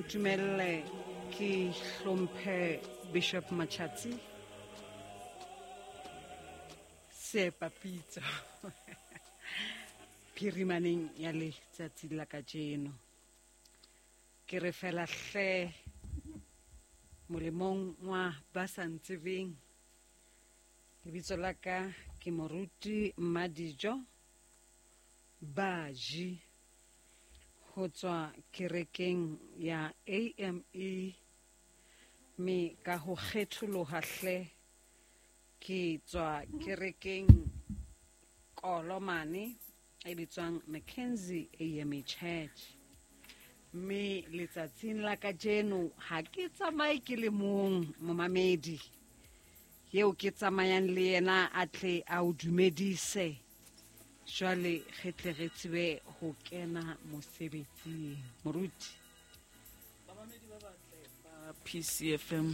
Ntumelle ke hlomphe Bishop Machatsi Seepapitso phirimaneng ya letsatsi la kajeno. Ke re fela hle molemong wa ba sa ntsebeng, lebitso la ka ke Moruti Mmadijo Baji ho tswa kerekeng ya AME, me ka ho kgetholoha hle ke tswa kerekeng Kolomane e bitswang Mackenzie AME Church. Mme letsatsing la kajeno ha ke tsamaye ke le mong, momamedi eo ke tsamayang le yena a tle a o dumedise, jwale re tle re tsebe ho kena mosebetsing. Moruti. Bamamedi ba batle ba PCFM,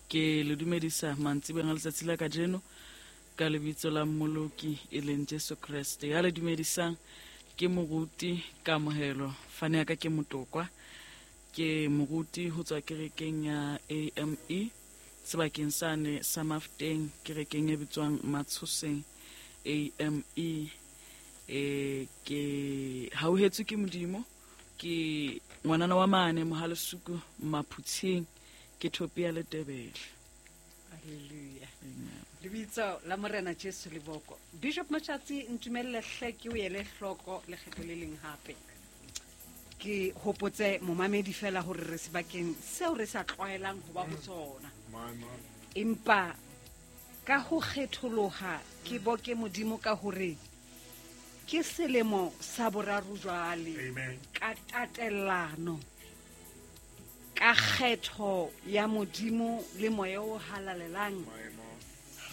ke le dumedisa mantsibeng a letsatsi la kajeno ka lebitso la Mmoloki e leng Jesu Kreste. Ya le dumedisang ke Moruti Kamohelo, fane ya ka ke Motokwa, ke moruti ho tswa kerekeng ya AME sebakeng sane sa Mafteng, kerekeng e bitswang Matshoseng AME. Ke hauhetswe ke Modimo, ke ngwanana wa mane Mohalesuku Maphutsheng, ke Thopia Letebele. Hallelujah. Lebitso la Morena Jesu leboko. Bishop Machatsi, ntumelle hle ke o ele hloko lekgetlo le leng hape. Ke hopotse momamedi fela hore re sebakeng seo re sa tlwaelang ho ba ho tsona. Empa ka ho kgetholoha ke boke Modimo ka hore ke selemo sa boraro jwale ka tatellano, ka kgetho ya Modimo le moya o halalelang,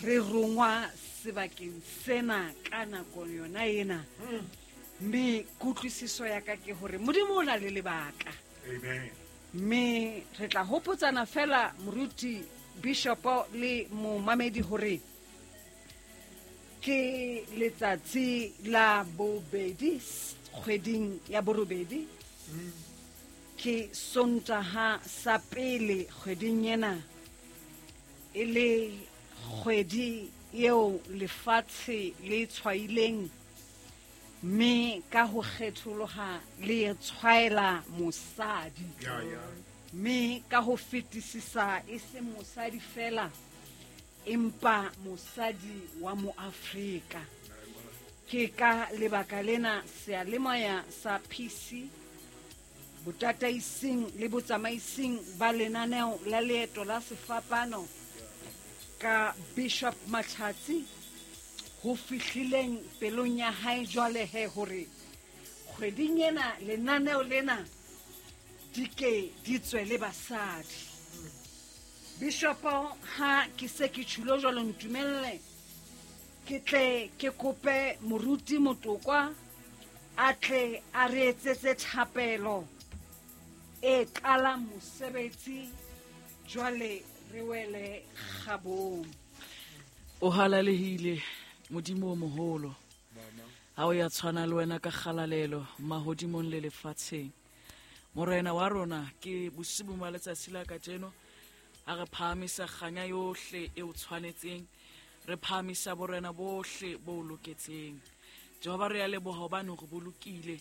re rongwa sebakeng sena ka nako yona ena. Mme kutlwisiso ya ka ke hore Modimo o na le lebaka. Mme re tla hopotsana fela moruti, bishopo le momamedi hore ke letsatsi la bobedi kgweding ya borobedi, ke Sontaha sa pele kgweding ena, e le kgwedi eo lefatshe le tshwaileng, mme ka ho kgetholoha le tshwaela mosadi. Mme ka ho fetisisa e se mosadi fela, empa mosadi wa Moafrika. Ke ka lebaka lena seyalemoya sa PC botataising le botsamaising ba lenaneo la leeto la sefapano ka Bishop Machatsi ho fihlileng pelong ya hae jwale he hore kgweding ena lenaneo lena di ke di tswe le basadi. Bishopo, ha ke se ke tjhulo jwalo, ntumelle ke tle ke kope moruti Motokwa a tle a re etsetse thapelo e qalang mosebetsi, jwale re wele kgabong. O halalehile Modimo o moholo, ha o ya tshwana le wena ka kgalalelo mahodimong le lefatsheng. Morena wa rona, ke bosibu ba letsatsi la kajeno ha re phahamisa kganya yohle e o tshwanetseng, re phahamisa borena bohle bo o loketseng. Jehova, re a leboha hobane re bolokile,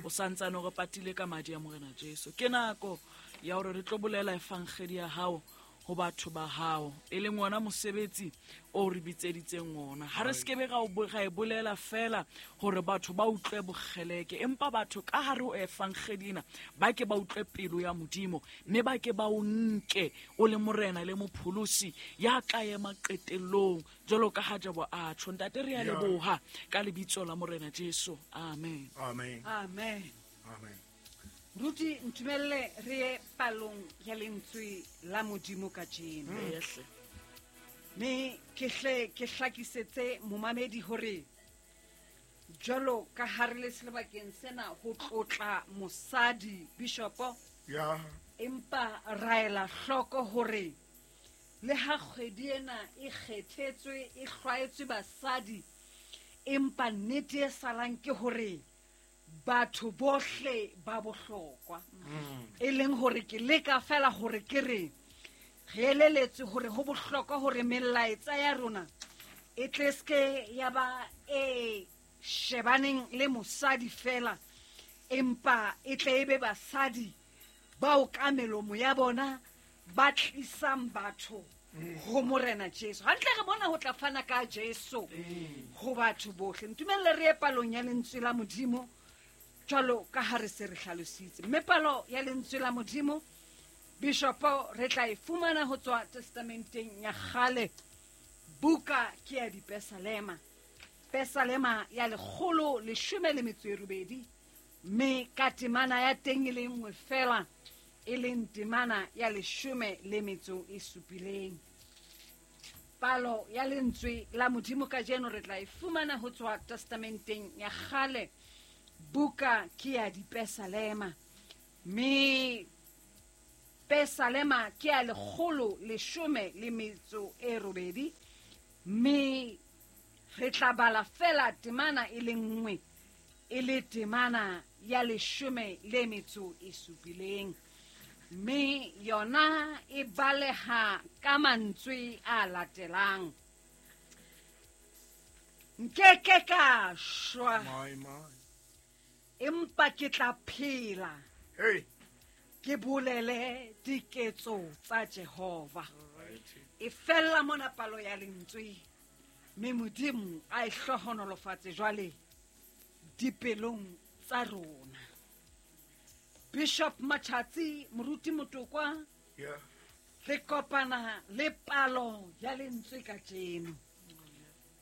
o santsane o re patile ka madi a Morena Jesu. Ke nako ya hore re tlo bolela evangeli ya hao ho batho ba hao, e leng ona mosebetsi o re bitseditseng ona. Ha re sekebe ra e bolela fela hore batho ba utlwe bokgeleke, empa batho ka hare ho evangeli ena ba ke ba utlwe pelo ya Modimo, mme ba ke ba o nke o le Morena le Mopholosi ya tla ema qetellong jwalo ka ha Jobo a tjho. Ntate, re a leboha ka lebitso la Morena Jesu. Amen. Amen. Amen. Amen. Ruti, ntumelle re ye palong ya lentswe la Modimo kajeno. Mme ke hle ke hlakisetse momamedi hore jwalo ka ha re le sebakeng sena ho tlotla mosadi bishopo, empa ra ela hloko hore le ha kgwedi ena e kgethetswe, e hlwaetswe basadi, empa nnete e salang ke hore batho bohle ba bohlokwa. E leng hore ke leka fela hore ke re re eleletswe hore ho bohlokwa hore melaetsa ya rona e tle ske ya ba e shebaneng le mosadi fela, empa e tle e be basadi bao ka melomo ya bona ba tlisang batho ho Morena Jesu. Hantle re bona ho tla fana ka Jesu ho batho bohle. Ntumelle re ye palong ya lentswe la Modimo jwalo ka ha re se re hlalositse. Mme palo ya lentswe la Modimo, Bishopo, re tla e fumana ho tswa Testamenteng ya Kgale, buka ke ya Dipesalema. Pesalema ya 118, mme ka temana ya teng e le nngwe fela, e leng temana ya 17. Palo ya lentswe la Modimo kajeno re tla e fumana ho tswa Testamenteng ya Kgale, buka ke ya Dipesalema. Mme Pesalema ke ya 118, mme re tla bala fela temana e le nngwe, e le temana ya 17. Mme yona e baleha ka mantswe a latelang: Nkeke ka shwa, empa ke tla phela, ke bolele diketso tsa Jehova. E fella mona palo ya lentswe, mme Modimo a e hlohonolofatse jwale dipelong tsa rona. Bishop Machatsi, Moruti Motokwa, re kopana le palo ya lentswe kajeno,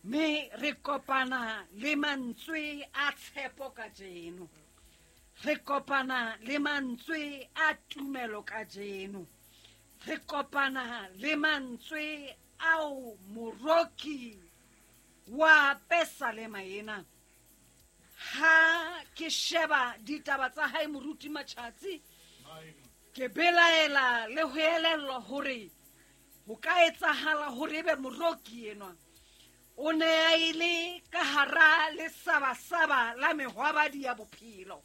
mme re kopana le mantswe a tshepo kajeno, re kopana le mantswe a tumelo kajeno, re kopana le mantswe ao moroki wa Pesalema ena. Ha ke sheba ditaba tsa hae Moruti Machatsi, ke belaela le ho elellwa hore ho ka etsahala hore ebe moroki enwa o ne a ile ka hara lesabasaba la mehwabadi ya bophelo.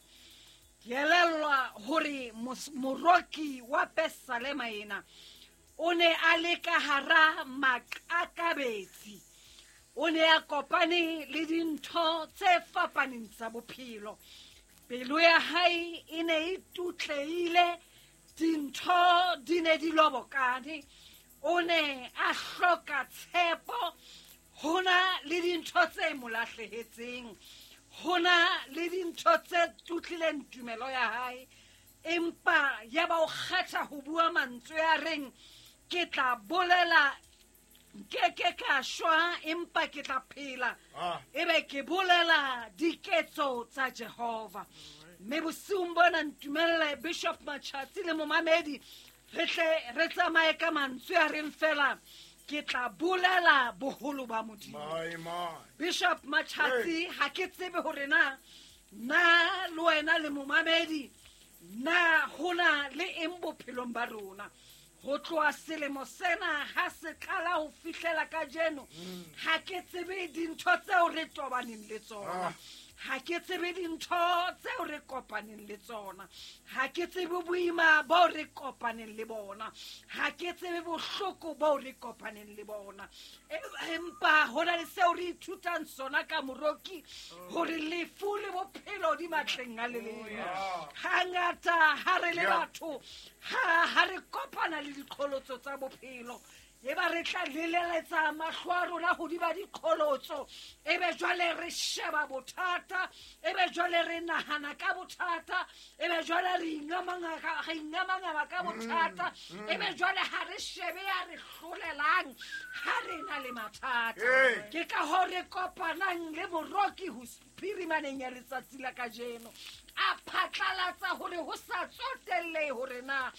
Ke elellwa hore moroki wa Pesalema ena o ne a le ka hara maqakabetsi, o ne a kopane le dintho tse fapaneng tsa bophelo. Pelo ya hae e ne e tutleile, dintho di ne di lobokane, o ne a hloka tshepo, hona le dintho tse mo lahlehetseng, hona le dintho tse tutlileng tumelo ya hae. Empa ya ba o kgetha ho bua mantswe a reng, ke tla bolela, nke ka shwa, empa ke tla phela, ebe ke bolela diketso tsa Jehova. Mme bosiung bona ntumelle Bishop Machatsi le momamedi re tle re tsamaye ka mantswe a reng fela, ke tla bolela boholo ba Modimo. Bishop Machatsi, ha ke tsebe hore na na le wena le momamedi na hona le eng bophelong ba rona. Ho tloha selemo sena ha se qala ho fihlela kajeno, ha ke tsebe dintho tseo re tobaneng le tsona, ha ke tsebe dintho tseo re kopaneng le tsona, ha ke tsebe boima bo re kopaneng le bona, ha ke tsebe bohloko bo re kopaneng le bona. Empa hona le seo re ithutang sona ka moroki, hore lefu le bophelo di matleng a leleme. Hangata ha re le batho, ha re kopana le diqholotso tsa bophelo, eba re tla leleletsa mahlo a rona hodima diqholotso, ebe jwale re sheba bothata, ebe jwale re nahana ka bothata, ebe jwale re ingamangama ka bothata, ebe jwale ha re shebe ya re hlolelang ha re na le mathata. Ke ka hoo re kopanang le moroki ho phirimaneng ya letsatsi la kajeno, a phatlalatsa hore ho sa tsotellehe hore na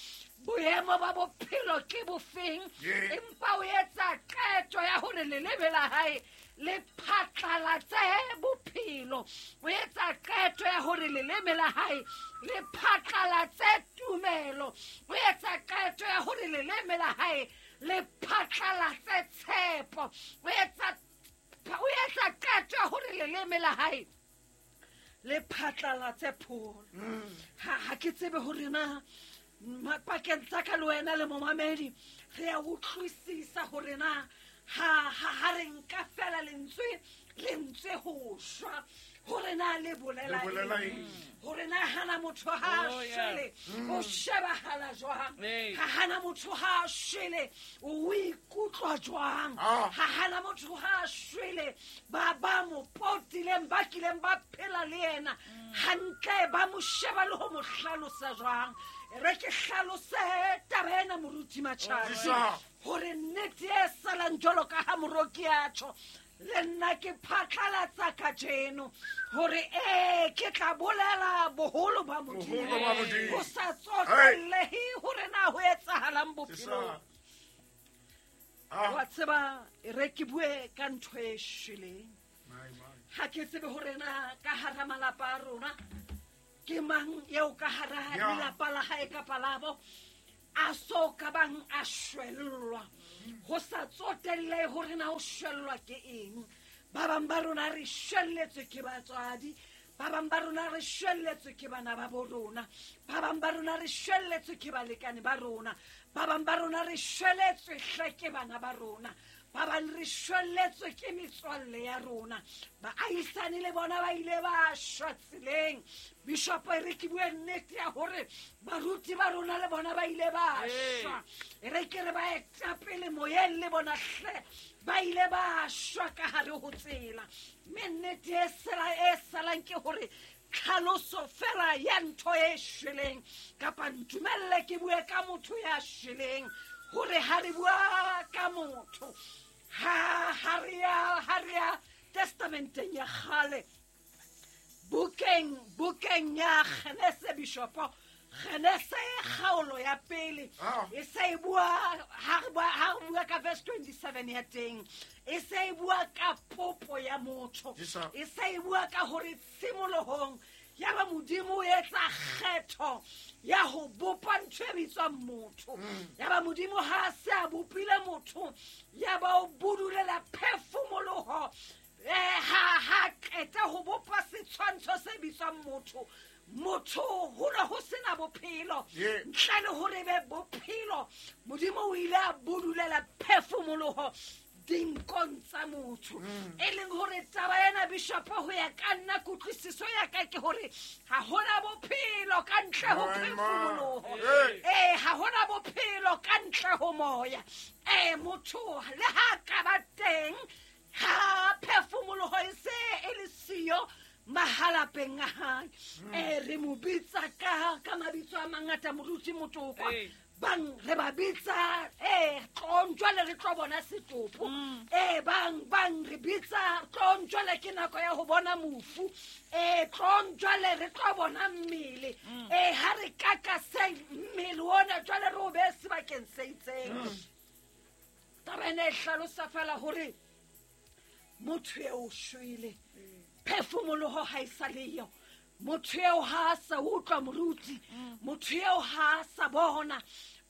boemo ba bophelo ke bofeng, empa o etsa qeto ya hore leleme la hae le phatlalatse bophelo, o etsa qeto ya hore leleme la hae le phatlalatse tumelo, o etsa qeto ya hore leleme la hae le phatlalatse tshepo, o etsa qeto ya hore leleme la hae Le phatlalatse pholo. Ha ke tsebe hore na pakeng tsa ka le wena le momamedi re a utlwisisa hore na ha re nka fela lentswe ho shwa hore na le bolela eng, hore na hana motho ha shwele o shebahala jwang, ha hana motho ha shwele o ikutlwa jwang, ha hana motho ha shwele ba mo potileng ba kileng ba phela le yena hantle ba mo sheba le ho mo hlalosa jwang. Re ke hlalose taba ena moruti Matjhatsi hore nnete e salang jwalo ka ha moroki a tjho, le nna ke phatlalatsa kajeno hore ke tla bolela boholo ba Modimo ho sa tsotellehe hore na ho etsahalang bophelong. Wa tseba re ke bue ka ntho e shweleng. Ha ke tsebe hore na ka hara malapa a rona ke mang eo ka hara lelapa la hae kapa labo a so ka bang a shwellwa, ho sa tsotelle hore na o shwellwa ke eng. Ba bang ba rona re shwelletswe ke batswadi, ba bang ba rona re shwelletswe ke bana ba bo rona, ba bang ba rona re shwelletswe ke balekane ba rona, ba bang ba rona re shwelletswe hle ke bana ba rona, ba bang re shwelletswe ke metswalle ya rona. Baahisane le bona ba ile ba shwa tseleng. Bishop re ke bue nnete ya hore baruti ba rona le bona ba ile ba shwa. Re ke re ba etapele moyeng le bona hle ba ile ba shwa ka hare ho tsela. Mme nnete e salang ke hore tlhaloso fela ya ntho e shweleng, kapa ntumelle ke bue ka motho ya shweleng, hore ha re bua ka motho ha re ya testamenteng ya kgale, bukeng ya Genese bishopo, Genese kgaolo ya pele e se e bua ha re bua ka verse 27 ya teng, e se e bua ka popo ya motho, e se e bua ka hore tshimolohong ya ba Modimo o etsa kgetho ya ho bopa ntho e bitswang motho. Ya ba Modimo ha se a bopile motho, ya ba o budulela phefumoloho ha qeta ho bopa setshwantsho se bitswang motho. Motho ho ne ho sena bophelo, ntle le hore be bophelo, Modimo o ile a budulela phefumoloho dinkong tsa motho. E leng hore taba ena bishop ho ya ka nna kutlwisiso ya ka ke hore ha hona bophelo ka ntle ho phefumoloho, ha hona bophelo ka ntle ho moya. Motho le ha ka ba teng ha phefumoloho e se e le siyo mahalapeng a hae, re mo bitsa ka mabitso a mangata moruti Motokwa. Bang re ba bitsa tlong jwale re tlo bona setopo, bang re bitsa tlong jwale ke nako ya ho bona mofu, tlong jwale re tlo bona mmele, ha re kaka se mmele ona jwale re o behe sebakeng se itseng. Taba ena e hlalosa fela hore motho eo o shwele, phefumoloho ha e sa leyo, motho eo ha a sa utlwa moruti, motho eo ha a sa bona,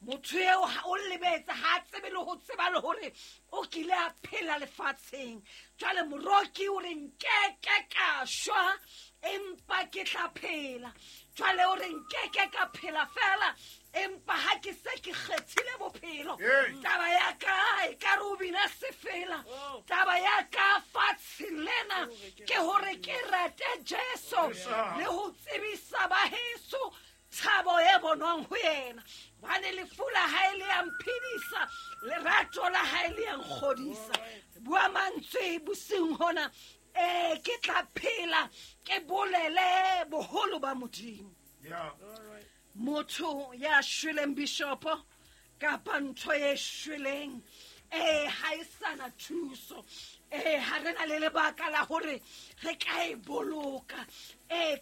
motho eo o lebetse, ha a tsebe le ho tseba le hore o kile a phela lefatsheng. Jwale moroki o re nkeke ka shwa empa ke tla phela. Jwale o re nkeke ka phela fela empa ha ke se ke kgethile bophelo, taba ya ka e ka re o bina sefela. Taba ya ka fatshe lena ke hore ke rate Jesu le ho tsebisa ba heso thabo e bonwang ho yena. Hobane lefu la hae le ya mphedisa, lerato la hae le ya nkgodisa. Bua mantswe bosiung hona, ke tla phela ke bolele boholo ba Modimo. Motho ya shweleng bishopo kapa ntho e shweleng ha e sana thuso, ha re na le lebaka la hore re ka e boloka.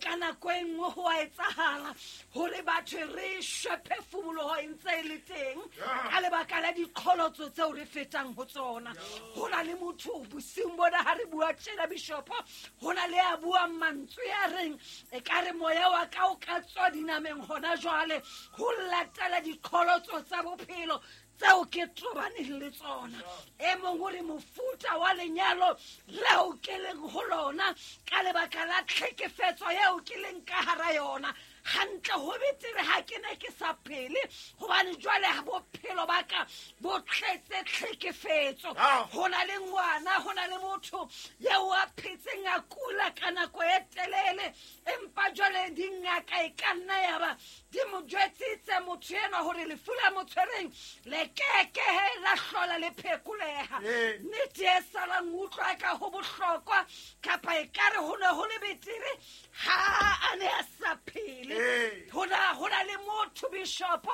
Ka nako e nngwe ho a etsahala hore batho re shwe phefumoloho e ntse e le teng ka lebaka la diqholotso tseo re fetang ho tsona. Ho na le motho bosiung bona ha re bua tjena bishopo, ho na le a buang mantswe a reng e ka re moya wa ka o ka tswa dinameng hona jwale ho latela diqholotso tsa bophelo tseo ke tobaneng le tsona. E mong o re mofuta wa lenyalo leo ke leng ho lona ka lebaka la tlhekefetso eo ke leng ka hara yona. Hantle ho betere ha ke ne ke sa phele, hobane jwale ha bophelo ba ka bo tletse tlhekefetso. Ho na le ngwana, ho na le motho eo a phetseng a kula ka nako e telele, empa jwale dingaka e ka nna ya ba di mo jwetsitse motho enwa hore lefu la mo tshwereng le keke la hlola le phekoleha. Nnete e salang utlwa ka ho bohlokwa, kapa ekare ho ne ho le betere ha a ne a sa phele. Ho na le motho bishopo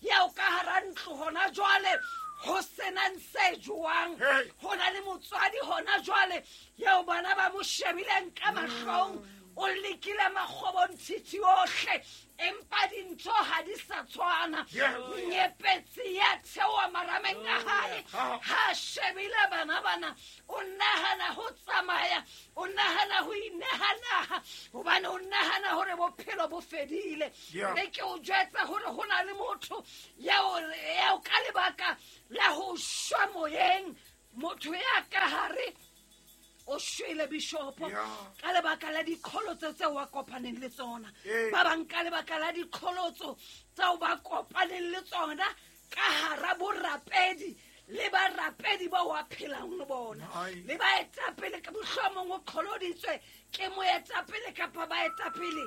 eo ka hara ntlo hona jwale ho senang se jwang. Ho na le motswadi hona jwale eo bana ba mo shebileng ka mahlong, o lekile makgobontshitshi ohle, empa dintho ha di sa tshwana. Nyepetsi ya theoha marameng a hae, ha shebile bana bana, o nahana ho tsamaya, o nahana ho ineha naha, hobane o nahana hore bophelo bo fedile. Re ke o jwetsa hore ho na le motho eo ka lebaka la ho shwa moyeng, motho ya ka hare o shwele bishopo ka lebaka la diqholotso tseo a kopaneng le tsona. Ba bang ka lebaka la diqholotso tseo ba kopaneng le tsona ka hara borapedi le barapedi bao a phelang le bona, le baetapele ka mohlomong o qholoditswe ke moetapele kapa baetapele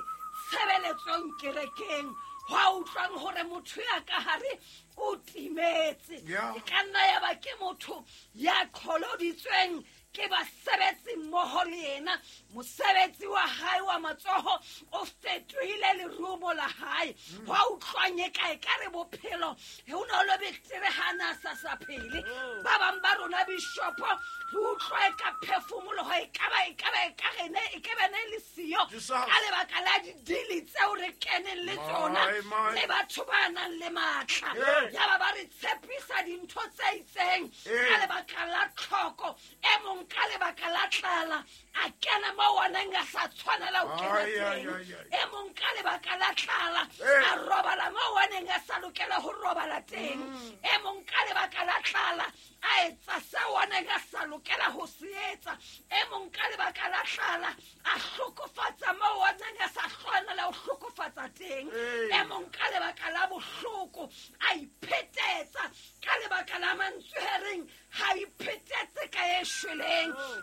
tshebeletsong kerekeng. Hwa utlwang hore motho ya ka hare o timetse. E ka nna ya ba ke motho ya qholoditsweng ke basebetsi mmoho le yena, mosebetsi wa hae wa matsoho o fetohile lerumo la hae. Hwa utlwang e ka ekare bophelo ho ne le betere ha na sa sa phele. Ba bang ba rona bishopo re utlwa e ka phefumoloho e ka ba e ka rene e ke bene le siyo ka lebaka la didili tseo re keneng le tsona le batho ba nang le matla. Ya ba ba re tshepisa dintho tse itseng ka lebaka la tlhoko, e mong ka lebaka la tlala a kena mo a neng a sa tshwanela ho kena teng, e mong ka lebaka la tlala a robala mo a neng a sa lokela ho robala teng, e mong ka lebaka la tlala a etsa seo a neng a sa lokela ho se etsa, e mong ka lebaka la tlala a hlokofatsa mo a neng a sa tshwanela ho hlokofatsa teng, e mong ka lebaka la bohloko a iphetetsa ka lebaka la mantswe a reng ha iphetetse ka e shweleng.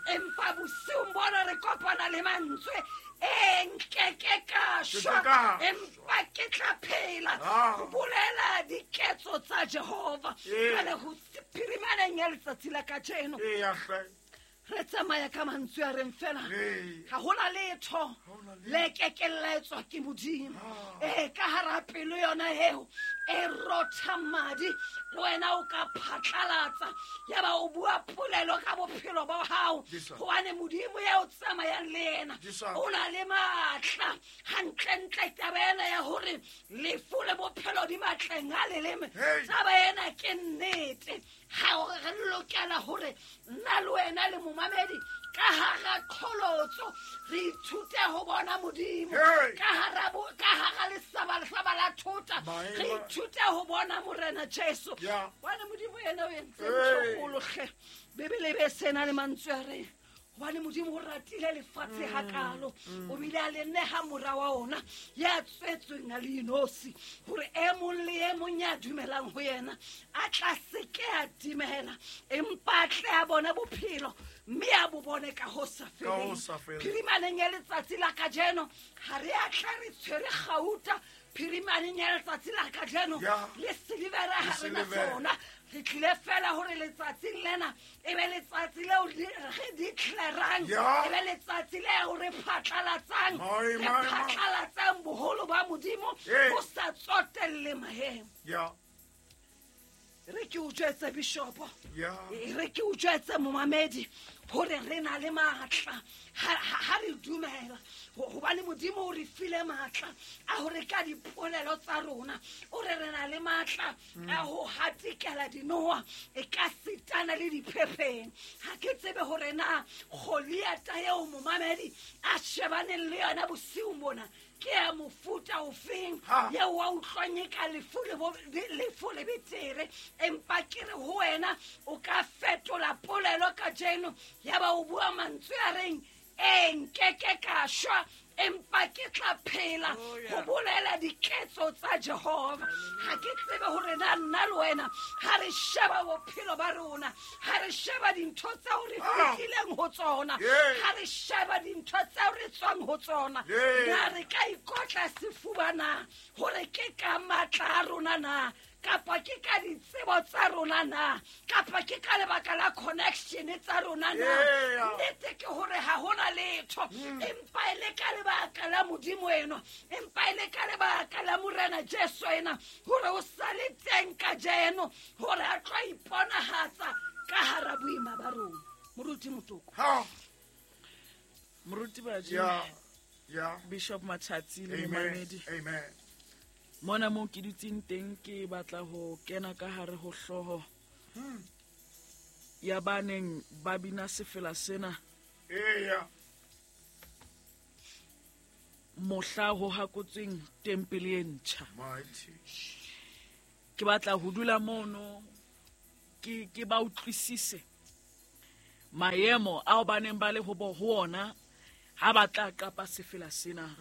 Empa bosiung bona re kopana le mantswe e nkeke ka shwa, empa ke tla phela ho bolela diketso tsa Jehova. Jwale ho phirimaneng ya letsatsi la kajeno re tsamaya ka mantswe a reng fela ha hona letho le kekeng la etswa ke Modimo. Ka hara pelo yona eo e rotha madi, le wena o ka phatlalatsa ya ba o bua polelo ka bophelo ba hao, hobane Modimo ya o tsamayang le yena o na le matla. Hantlentle taba ena ya hore lefu le bophelo di matleng a leleme, taba ena ke nnete. Ha re lokela hore nna le wena le momamedi ka hara qholotso re ithute ho bona Modimo, ka hara lesaba la thota re ithute ho bona Morena Jesu. Hobane Modimo yena o entse ntho kgolo hle. Bibele be sena le mantswe a reng hobane Modimo o ratile lefatshe hakalo, o bile a le neha mora wa ona ya tswetsweng a le inosi, hore e mong le e mong ya dumelang ho yena a tla se ke a timela, empa a tle a bone bophelo mme a bo bone ka ho sa feleng. Phirimaneng ya letsatsi la kajeno ha re a tla re tshwere kgauta, phirimaneng ya letsatsi la kajeno le silivera ha re na sona. Re tlile fela hore letsatsing lena e be letsatsi leo re declarang, e be letsatsi leo re phatlalatsang, re phatlalatsang boholo ba Modimo ho sa tsotelle maemo. Re ke o jwetse bishopo, re ke o jwetse momamedi Hore re na le matla ha re dumela hobane Modimo o re file matla a hore ka dipolelo tsa rona o re re na le matla a ho hatikela dinoha e ka sitana le diphepheng. Ha ke tsebe hore na Goliata eo momamedi a shebaneng le yona bosiung bona ke ya mofuta ofeng eo wa utlwang e ka lefu le betere, empa ke re ho wena o ka fetola polelo kajeno ya ba o bua mantswe a reng e nkeke ka shwa empa ke tla phela ho bolela diketso tsa Jehova. Ha ke tsebe hore na nna le wena ha re sheba bophelo ba rona, ha re sheba dintho tseo re fetileng ho tsona, ha re sheba dintho tseo re tswang ho tsona, na re ka ikotla sefuba na hore ke ka matla a rona na, kapa ke ka ditsebo tsa rona na, kapa ke ka lebaka la connection tsa rona na? Nnete ke hore ha hona letho, empa e le ka lebaka la Modimo eno, empa e le ka lebaka la Morena Jesu ena, hore o sale teng kajeno, hore a tlo iponahatsa ka hara boima ba rona. Moruti Motoko. Moruti Baji. Bishop Machatsi le momamedi. Amen. Mona mo ke dutseng teng ke batla ho kena ka hare ho hlooho ya baneng ba bina sefela sena. Mohla ho hakotsweng tempele e ntjha. Ke batla ho dula mono ke ba utlwisise maemo ao baneng ba le ho ona ha ba tla qapa sefela sena.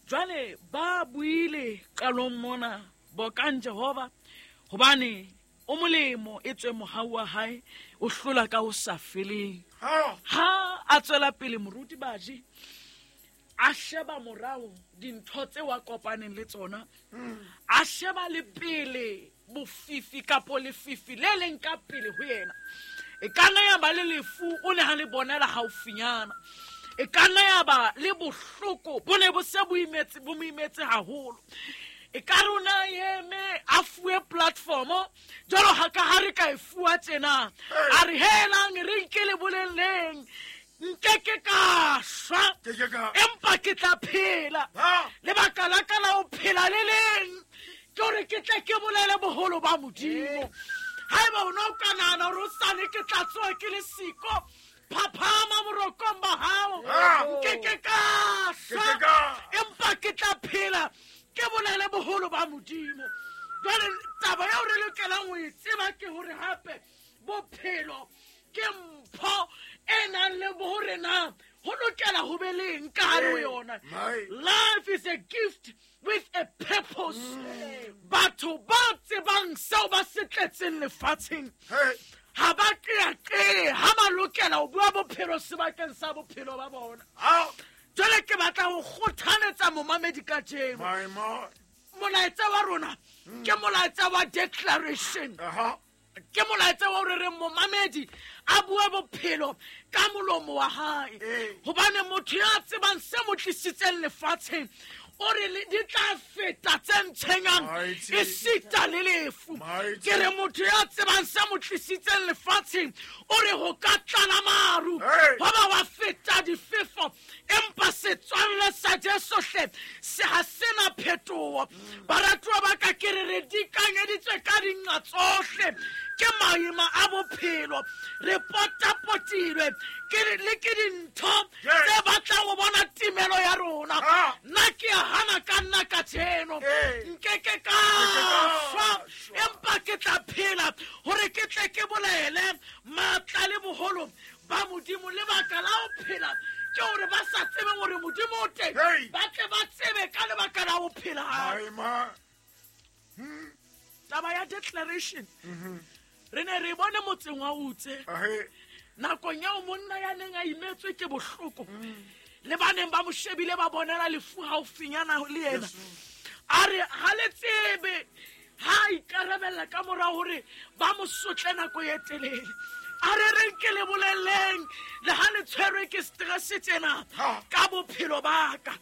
Jwale ba buile qalong mona bokang Jehova hobane o molemo e tswe mohau wa hae o hlola ka ho sa feleng. Ha a tswela pele moruti Baji a sheba morao dintho tse wa kopaneng le tsona, a sheba le pele bofifi kapo lefifi le leng ka pele ho yena. E ka nna ya ba le lefu o ne ha le bonela haufinyana, e ka nna ya ba le bohloko bo ne bo se bo imetse bo mo imetse haholo. E ka rona eme a fuwe platform jwalo ha ka ha re ka e fuwa tjena, a re helang re nke le bolelleng nkeke ka shwa empa ke tla phela. Lebaka la ka la ho phela le leng ke hore ke tle ke bolele boholo ba Modimo. Haeba o ne o ka nahana hore o sane ke tla tsoha ke le siko, phaphama borokong ba hao, nkeke ka shwa empa ke tla phela ke bolele boholo ba Modimo. Jwale taba eo re lokelang ho e tseba ke hore hape bophelo ke mpho e nang le hore na ho lokela ho be leng ka hare ho yona. Life is a gift with a purpose. Batho ba tsebang seo ba se tletseng lefatsheng ha ba qeaqee ha ba lokela ho bua bophelo sebakeng sa bophelo ba bona. Jwale ke batla ho kgothaletsa momamedi kajeno. Molaetsa wa rona ke molaetsa wa declaration. Ke molaetsa wa hore re momamedi a bue bophelo ka molomo wa hae. Hobane motho ya tsebang se mo tlisitseng lefatsheng o re di tla feta tse ntshwenyang esita le lefu. Ke re motho ya tsebang se mo tlisitseng lefatsheng o re ho ka tlala maru ho ba wa feta difefo, empa setswalle sa Jesu hle se ha sena phetoho. Baratuwa ba ka, ke re re dikanyeditswe ka dinqa tsohle ke maima a bophelo, re potapotilwe ke le ke dintho tse batlang ho bona timelo ya rona. Nna ke a hana ka nna kajeno, nkeke ka shwa empa ke tla phela hore ke tle ke bolele matla le boholo ba Modimo. Lebaka la ho phela ke hore ba sa tsebe hore Modimo o teng, ba tle ba tsebe ka lebaka la ho phela. Taba ya declaration re ne re bone motseng wa Utse nakong eo monna ya neng a imetswe ke bohloko le baneng ba mo shebile ba bonela lefu haufinyana le yena. A re ha le tsebe ha ikarabella ka mora hore ba mo sotle nako e telele. A re reng ke le bolelleng le ha le tshwerwe ke stress tsena ka bophelo ba ka.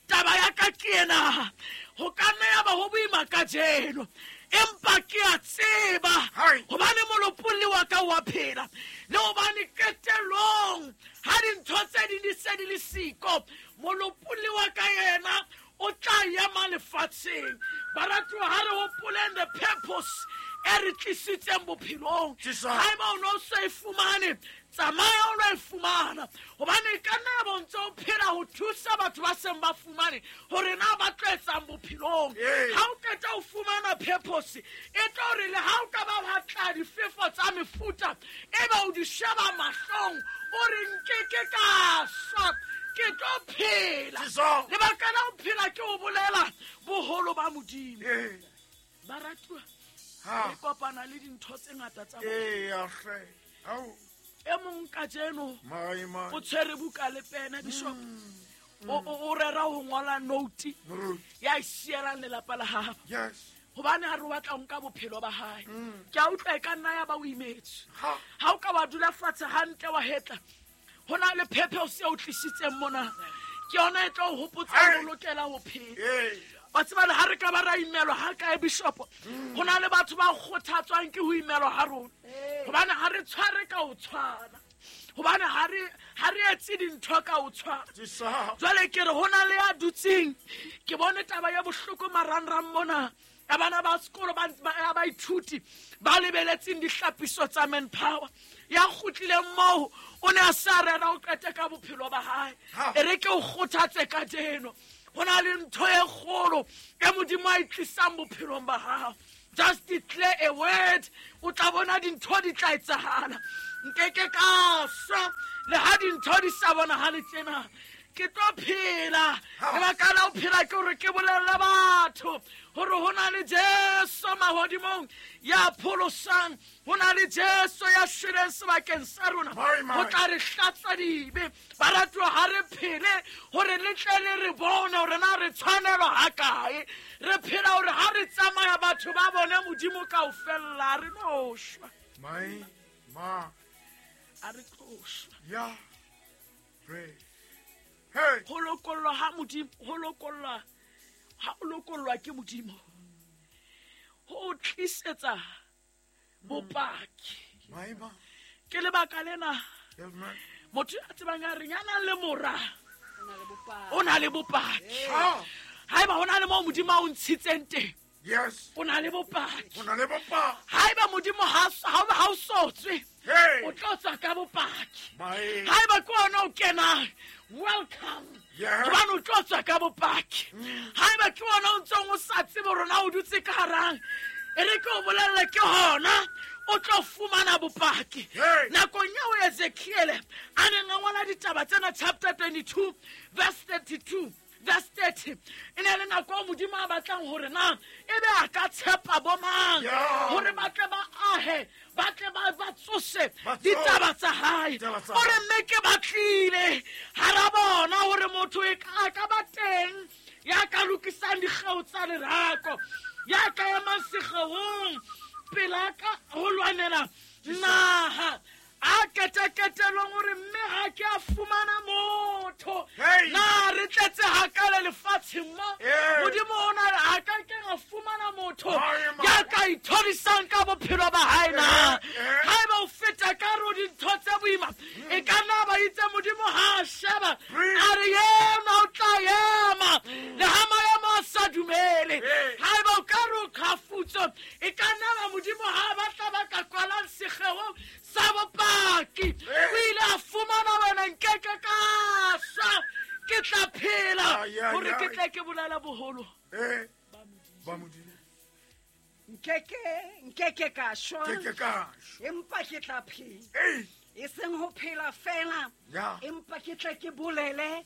Taba ya ka ke ena, ho ka nna ya ba ho boima kajeno, Empa ke a tseba hobane molopolli wa ka wa phela le hobane qetellong ha dintho tse ding di se di le siko, molopolli wa ka yena o tla ema lefatsheng. Baratuwa, ha re hopoleng the purpose e re tlisitseng bophelong. Haeba o no so e fumane, tsamaya o lo e fumana, hobane e ka nna ya bo ntse o phela ho thusa batho ba seng ba fumane hore na ba tlo etsang bophelong. Ha o qeta ho fumana purpose, e tlo re le ha o ka ba wa tla difefo tsa mefuta, e ba o di sheba mahlong, o re nkeke ka swa, ke tlo phela. Lebaka la ho phela ke ho bolela boholo ba Modimo. Baratuwa, re kopana le dintho tse ngata tsa bophelo. E mong kajeno o tshwere buka le pene, Bishop. O rera ho ngola note ya e sielang lelapa la habo. Hobane ha re batla ho nka bophelo ba hae. Ke a utlwa e ka nna ya ba o imetswe. Ha o ka wa dula fatshe hantle wa hetla, ho na le purpose e o tlisitseng mona. Ke yona e tlo o hopotsa hore o lokela ho phela. Wa tseba le ha re ka ba ra imelwa ha kae, Bishop, ho na le batho ba kgothatswang ke ho imelwa ha rona. Hobane ha re tshware ka ho tshwana. Hobane ha re etse dintho ka ho tshwana. Jwale ke re ho na le ya dutseng, ke bone taba ya bohloko marangrang mona. Ya bana ba sekolo ba baithuti ba lebeletseng dihlapiso tsa manpower. Ya kgutlileng moo o ne a sa rera ho qete ka bophelo ba hae. E re ke o kgothatse kajeno. Ho na le ntho e kgolo e Modimo a e tlisang bophelong ba hao. Just declare a word, o tla bona dintho di tla etsahala. Nkeke ka swa le ha dintho di sa bonahale tjena, ke tlo phela. Lebaka la ho phela ke hore ke bolelle batho hore ho na le Jesu mahodimong ya pholosang, ho na le Jesu ya shweleng sebakeng sa rona ho tla re hlatswa dibe. Baratuwa, ha re phele hore le tle le re bone hore na re tshwanelwa ha kae. Re phela hore ha re tsamaya batho ba bone Modimo kaofela, re no shwa. A re tlo shwa. Ho lokollwa ha Modimo, ho lokollwa ha o lokollwa ke Modimo, ho tlisetsa bopaki. Ke lebaka lena motho ya tsebang a reng ya nang le mora o na le bopaki. Haeba ho na le moo Modimo a o ntshitseng teng, o na le bopaki. Haeba Modimo ha o sotswe, o tlo tswa ka bopaki. Haeba ke ona o kenang, welcome. Hobane o tlo tswa ka bopaki. Haeba ke ona o ntsong o sa tsebe hore na o dutse ka harang, e re ke o bolelle ke hona o tlo fumana bopaki. Nakong eo Ezekiel a neng a ngola ditaba tsena, chapter 22 verse 32 verse 30, e ne le nako eo Modimo a batlang hore na ebe a ka tshepa bo mang hore ba tle ba ahe, ba tle ba tsose ditaba tsa hae. O re mme ke batlile hara bona hore motho e ka ba teng ya ka lokisang dikgeo tsa lerako, ya ka emang sekgeong pela ka ho lwanela naha. A keteketelong hore mme ha ke a fumana motho, na re tletse hakale lefatsheng mo, Modimo o na a ka ke a fumana motho ya ka ithorisang ka bophelo ba hae na. Haeba o feta ka ro dintho tse boima, e ka nna ba itse Modimo ha a sheba a re yena o tla ema le ha maemo a sa dumele. Haeba o ka re o qhafutso, e ka nna ba Modimo ha batla ba ka kwalang sekgeong sa bopaki. O ile a fumana wena, nkeke ka swa, ke tla phela hore ke tle ke bolela boholo ba Modimo. Nkeke ka shwa, empa ke tla phela. E seng ho phela fela, empa ke tle ke bolele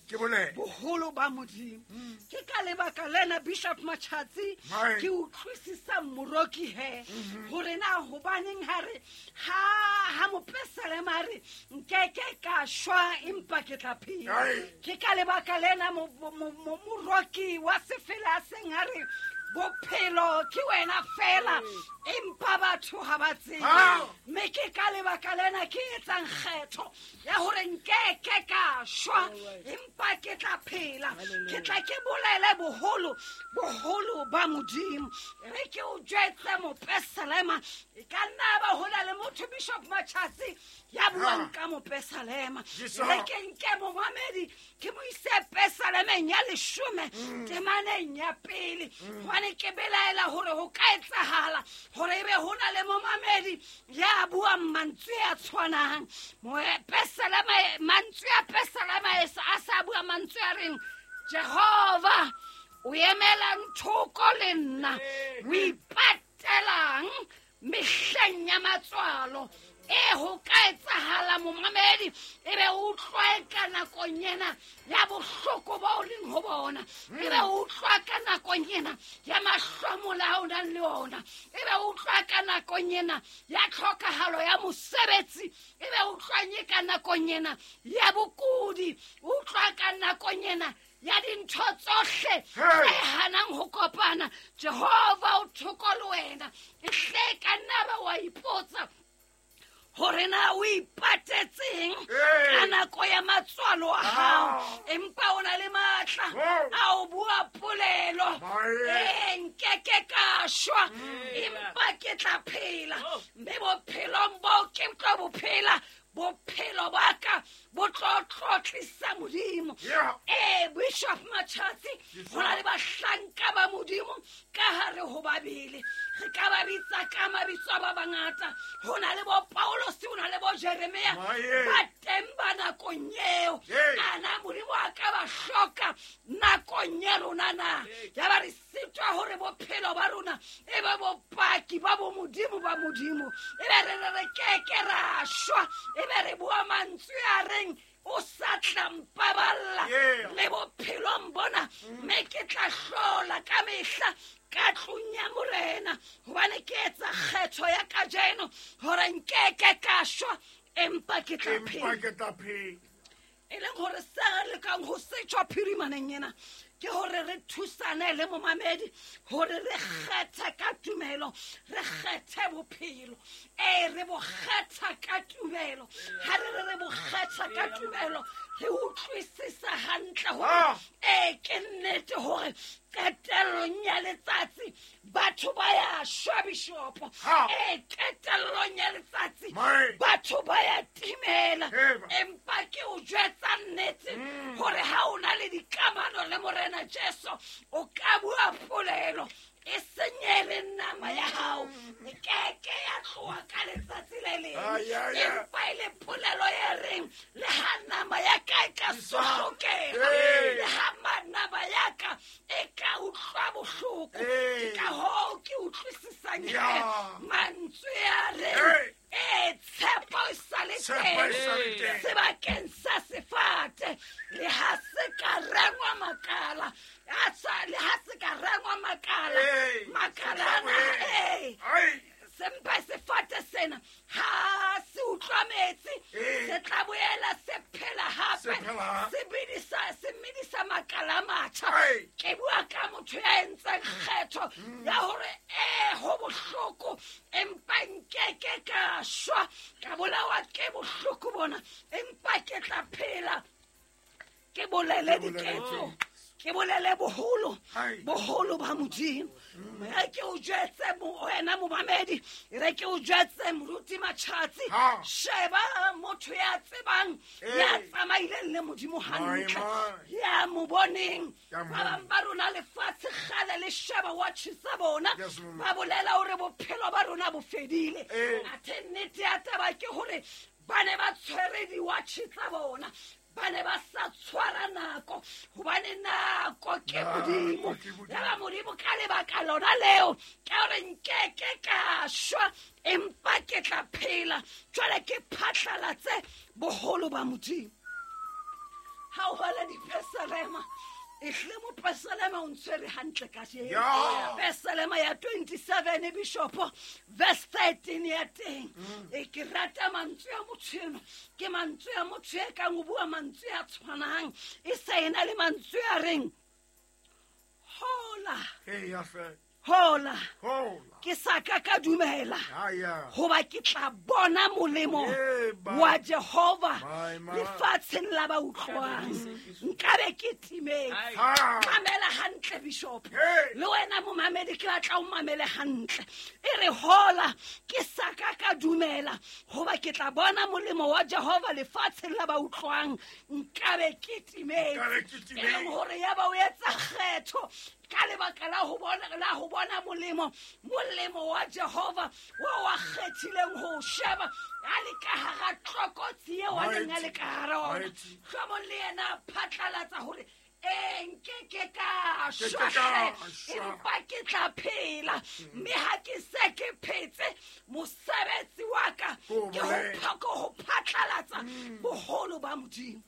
boholo ba Modimo. Ke ka lebaka lena, Bishop Machatsi, ke utlwisisa moroki he hore na hobaneng ha re ha mopesalema a re nkeke ka shwa empa ke tla phela. Ke ka lebaka lena moroki wa sefela seng a re bophelo bophelo ke wena fela empa batho ha ba tsebe. Mme ke ka lebaka lena ke etsang kgetho ya hore nkeke ka shwa empa ke tla phela. Ke tla ke bolele boholo boholo ba Modimo. Re ke o jwetse mopesalema e ka nna ba hola le motho Bishop Machatsi ya buang ka mopesalema. Re ke nke momamedi ke mo ise pesalemeng ya 10 temaneng ya pele. Hobane ke belaela hore ho ka etsahala hore ebe ho na le momamedi ya buang mantswe a tshwanang. Mopesalema mantswe a pesalema a sa bua mantswe a reng Jehova o emelang thoko le nna, o ipatelang mehleng ya matswalo. E ho ka etsahala momamedi e be o utlwa ka nakong ena ya bohloko bo o leng ho bona, e be o utlwa ka nakong ena ya mahlomola a o nang le ona, e be o utlwa ka nakong ena ya tlhokahalo ya mosebetsi, e be o utlwanye ka nakong ena ya bokudi, o utlwa ka nakong ena ya dintho tsohle tse hanang ho kopana. Jehova o thoko le wena. E hle ka nna ba wa ipotsa hore na o ipatetseng ka nako ya matswalo a hao, empa o na le matla a o bua polelo. Nkeke ka shwa empa ke tla phela, mme bophelong bo ke tlo bo phela, bophelo ba ka bo tlo tlotlisa Modimo. Bishop Machatsi, ho na le bahlanka ba Modimo ka hare ho Babele. Re ka ba bitsa ka mabitso a ba bangata. Ho na le bo Paulosi, ho na le bo Jeremia, ba teng ba nakong eo. Ana Modimo a ka ba hloka nakong ya rona na? Ya ba re sitwa hore bophelo ba rona e be bopaki ba bo Modimo ba Modimo. E be re re keke ra shwa, e be re bua mantswe a reng o sa tla mpaballa le bophelong bona, mme ke tla hlola ka mehla ka tlung ya Morena, hobane ke etsa kgetho ya kajeno hore nkeke ka shwa empa ke tla phela. E leng hore se re lekang ho se tjho phirimaneng ena ke hore re thusane le momamedi hore re kgethe ka tumelo, re kgethe bophelo. Re bo kgetha ka tumelo. Ha re re bo kgetha ka tumelo, re utlwisisa hantle hore ke nnete hore qetellong ya letsatsi batho ba ya shwa, Bishopo. Qetellong ya letsatsi batho ba ya timela. Empa ke o jwetsa nnete hore ha o na le dikamano le Morena Jesu, o ka bua polelo e senyele nama ya hao, e keke ya tloha ka letsatsi le leng. Empa e le polelo e reng le ha nama ya ka e ka sohlokega, le ha nama ya ka e ka utlwa bohloko. Ke ka hoo ke utlwisisang mantswe a reng tshepo e sa le teng sebakeng sa sefate, le ha se ka rengwa makala, le ha se ka rengwa makala, makala ana sempa sefate sena ha se utlwa metsi se tla boela se phela hape, se medisa makala a matjha. Ke bua ka motho ya entseng kgetho ya hore ho bohloko empa nkeke ka shwa, ka bolawa ke bohloko bona, empa ke tla phela, ke bolele diketso, ke bolele boholo boholo ba Modimo. Re ke o jwetse wena momamedi, re ke o jwetse moruti Machatsi, sheba motho ya tsebang, ya tsamaileng le Modimo hantle, ya mo boneng. Ba bang ba rona lefatshe kgale le sheba watch tsa bona, ba bolela hore bophelo ba rona bo fedile. Athe nnete ya taba ke hore ba ne ba tshwere di-watch tsa bona, ba ne ba sa tshwara nako, hobane nako ke Modimo. Ya ba Modimo ka lebaka lona leo ke hore nkeke ka shwa empa ke tla phela, jwale ke phatlalatse boholo ba Modimo. Ha o bala dipesalema, ehle mopesalema o ntshwere hantle kajeno. Pesalema ya 27 Bishopo, verse 13 ya teng. E ke rata mantswe a motho eno, ke mantswe a motho e kang o bua mantswe a tshwanang, e sa ena le mantswe a reng hola. Hola ke sa ka ka dumela hoba ke tla bona molemo wa Jehova lefatsheng la ba utlwang. Nkabe ke timetse. Mamela hantle bishop. Le wena momamedi ke batla o mamele hantle. E re hola ke sa ka ka dumela hoba ke tla bona molemo wa Jehova lefatsheng la ba utlwang. Nkabe ke timetse. E leng hore ya ba o etsa kgetho ka lebaka la ho bona molemo wa Jehova wa kgethileng ho sheba a le ka hara tlokotsi eo a neng a le ka hara ona. Hlomong le yena a phatlalatsa hore nke ke ka shwa empa ke tla phela, mme ha ke se ke phetse mosebetsi wa ka ke ho phatlalatsa boholo ba Modimo.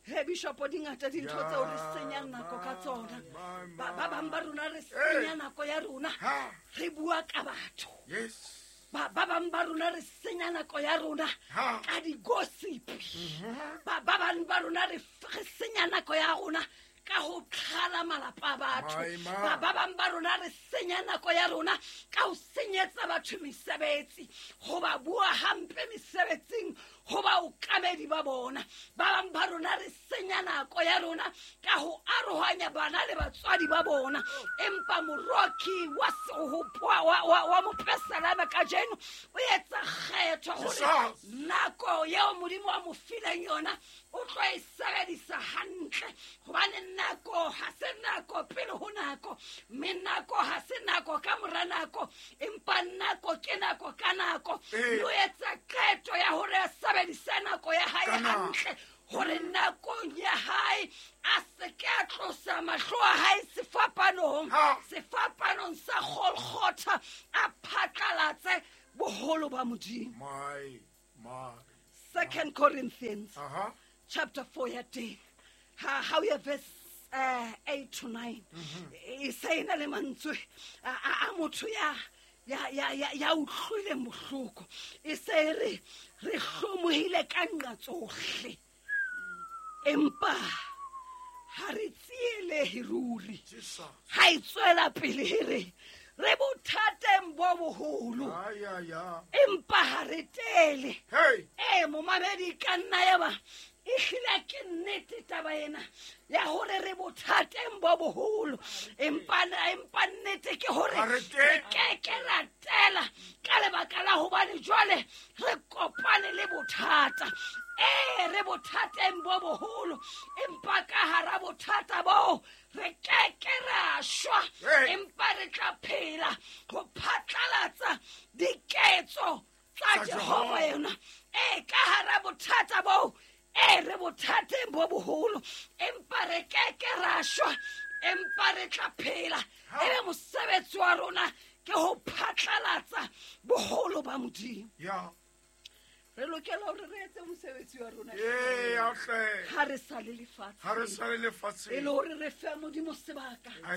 He bishop dingata dintho tseo re senyang nako ka tsona. Ba bang ba rona re senya nako ya rona re bua ka batho. Ba bang ba rona re senya nako ya rona ka di-gossip. Ba bang ba rona re senya nako ya rona ka ho tlhala malapa a batho. Ba bang ba rona re senya nako ya rona ka ho senyetsa batho mesebetsi, ho ba bua hampe mesebetsing, ho ba okamedi ba bona. Ba bang ba rona re senya nako ya rona ka ho arohanya bana le batswadi ba bona. Empa moroki wa mopesalame kajeno o etsa kgetho hore nako eo Modimo wa mo fileng yona o tlo e sebedisa hantle, hobane nako ha se nako pele ho nako, mme nako ha se nako ka mora nako, empa nako ke nako ka nako. O etsa qeto ya hore a sebedise nako ya hae hantle, hore nakong ya hae a se ke a tlosa mahlo a hae sefapanong sa Golgotha, a phatlalatse boholo ba Modimo. 2 Corinthians chapter 4 ya teng ha o ya verse 8 to 9 e se ena le mantswe a motho ya utlwileng bohloko. E se re re hlomohile ka nqa tsohle, empa ha re tsielehe ruri. Ha e tswela pele re re bothateng bo boholo, empa ha re tele. Momamedi ka nna ya ba e hlile ke nnete taba ena ya hore re bothateng bo boholo, empa nnete ke hore re keke ra tela ka lebaka la hobane jwale re kopane le bothata. Re bothateng bo boholo, empa ka hara bothata bo re keke ra shwa, empa re tla phela ho phatlalatsa diketso tsa Jehova yona. Ka hara bothata bo re bothateng bo boholo, empa re keke ra shwa, empa re tla phela. Ebe mosebetsi wa rona ke ho phatlalatsa boholo ba Modimo. Re lokela hore re etse mosebetsi wa rona ha re sa le lefatsheng, e le hore re fe Modimo sebaka a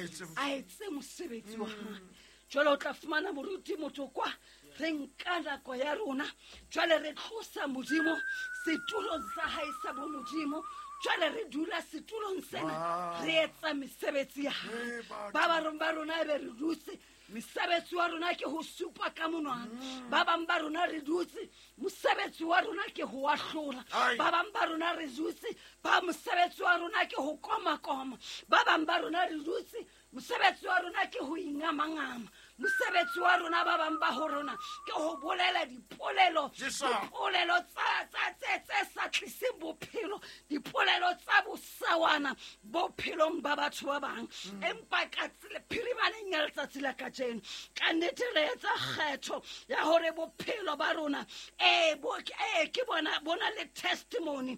etse mosebetsi wa hae. Jwale o tla fumana moruti motho kwa re nka nako ya rona, jwale re tlosa Modimo setulong sa hae sa bomodimo, jwale re dula setulong sena re etsa mesebetsi ya hae. Ba bang ba rona ebe re dutse, mosebetsi wa rona ke ho supa ka monwana. Ba bang ba rona re dutse, mosebetsi wa rona ke ho ahlola. Ba bang ba rona re dutse, ba mosebetsi wa rona ke ho koma-koma. Ba bang ba rona re dutse, mosebetsi wa rona ke ho ingamangama. Mosebetsi wa rona ba bang ba ho rona ke ho bolela dipolelo, dipolelo tsa sa tliseng bophelo, dipolelo tsa bosawana bophelong ba batho ba bang. Empa ka phirimaneng ya letsatsi la kajeno, ka nnete re etsa kgetho ya hore bophelo ba rona ke bona le testimony,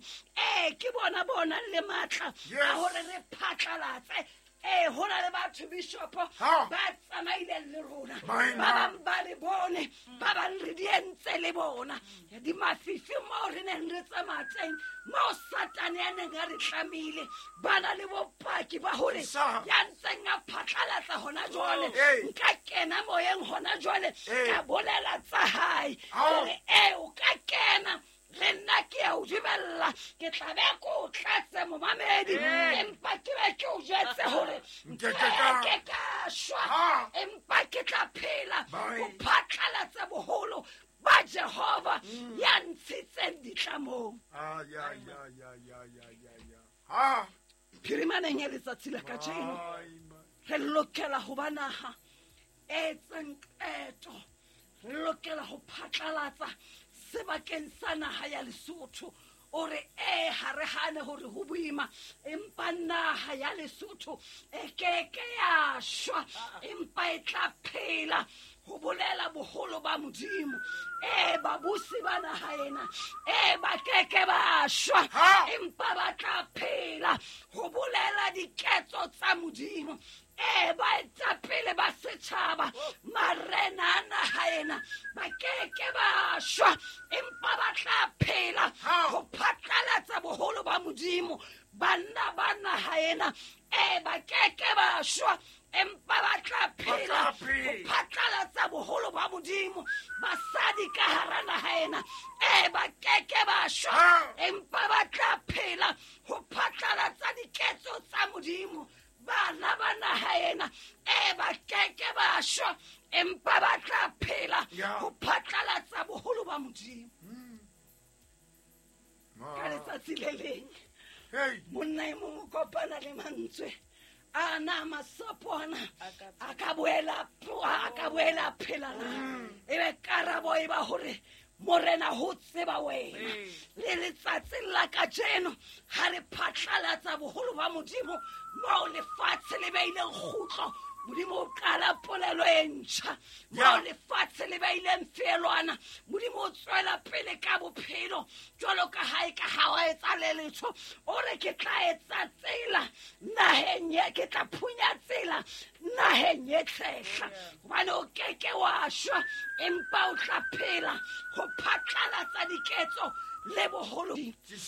ke bona le matla a hore re phatlalatse. Ho na le batho bishop ba tsamaileng le rona, ba bang ba re bone, ba bang re di entse le bona. Di mafifi moo re neng re tsamaya teng, moo Satane a neng a re tlamile, ba na le bopaki ba hore ya ntseng a phatlalatsa hona jwale, nka kena moyeng hona jwale ka bolela tsa hae. Hore o ka kena Le nna ke a o dumella, ke tla be ke o tlatse momamedi, empa ke be ke o jwetse hore nke ka shwa, empa ke tla phela ho phatlalatsa boholo ba Jehova ya ntshitseng ditlamong. Phirimaneng ya letsatsi la kajeno re lokela ho ba naha e etsang qeto, re lokela ho phatlalatsa sebakeng sa naha ya Lesotho. O re e ha re hane hore ho boima, empa naha ya Lesotho e keke ya shwa, empa e tla phela ho bolela boholo ba Modimo. E babusi ba naha ena e ba keke ba shwa, empa ba tla phela ho bolela diketso tsa Modimo. E baetapele ba setjhaba, marena a naha ena ba keke ba shwa, empa ba tla phela ho phatlalatsa boholo ba Modimo. Banna ba naha ena e ba keke ba shwa, empa ba tla phela ho phatlalatsa boholo ba Modimo. Basadi ka hara naha ena e ba keke ba shwa, empa ba tla phela ho phatlalatsa diketso tsa Modimo. Bana ba naha ena e ba keke ba shwa, empa ba tla phela ho phatlalatsa boholo ba Modimo. Ka letsatsi le leng monna e mong o kopana le mantswe ana masapo ana a ka boela phela na? Ebe karabo e ba hore Morena ho tseba wena. Le letsatsing la kajeno ha re phatlalatsa boholo ba Modimo moo lefatshe le beileng kgutlo, Modimo o qala polelo e ntjha. Moo lefatshe le beileng feelwana, Modimo o tswela pele ka bophelo jwalo ka ha e ka ha wa etsa le letho. O re ke tla etsa tsela naheng ye, ke tla phunya tsela naheng e tshehla, hobane o keke wa shwa, empa o tla phela ho phatlalatsa diketso le boholo.